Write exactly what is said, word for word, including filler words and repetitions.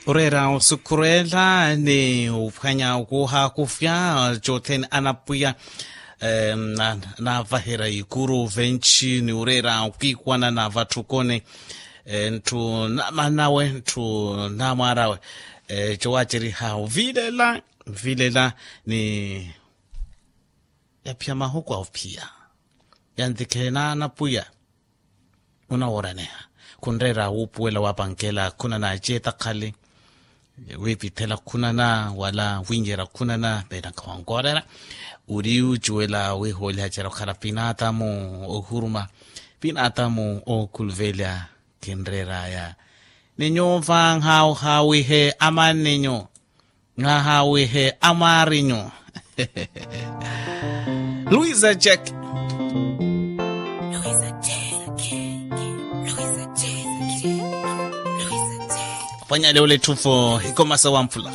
Oreera osukhurela ni ophwanya okuuhakufya cothene anapwiya. Naavaherya ikuru venci ni oreera okwiikwana na vatthukoni. Ntthu namanawe ntthu namwaarawe. Cowaaceriha ovilela vilela ni yaphiya mahuku a ophiya. Yantikhe naana pwiya. Onawooraneha khunreera wuupuwela wapankela khuna na aceetakhali. Wiipithela khuna na wala wiinyeera khuna na peenakha wankoorera. Ori ocuwela wiihooliha cera okhala pinaatamu ohuruma pinaatamu okhuluvelya. Khinreeraya ni nyuva nhaawihe amaninyu. Nhaawihe amaarinyu. Luisa jack. Pwanyale ole tthuvo ikomasa wamphula.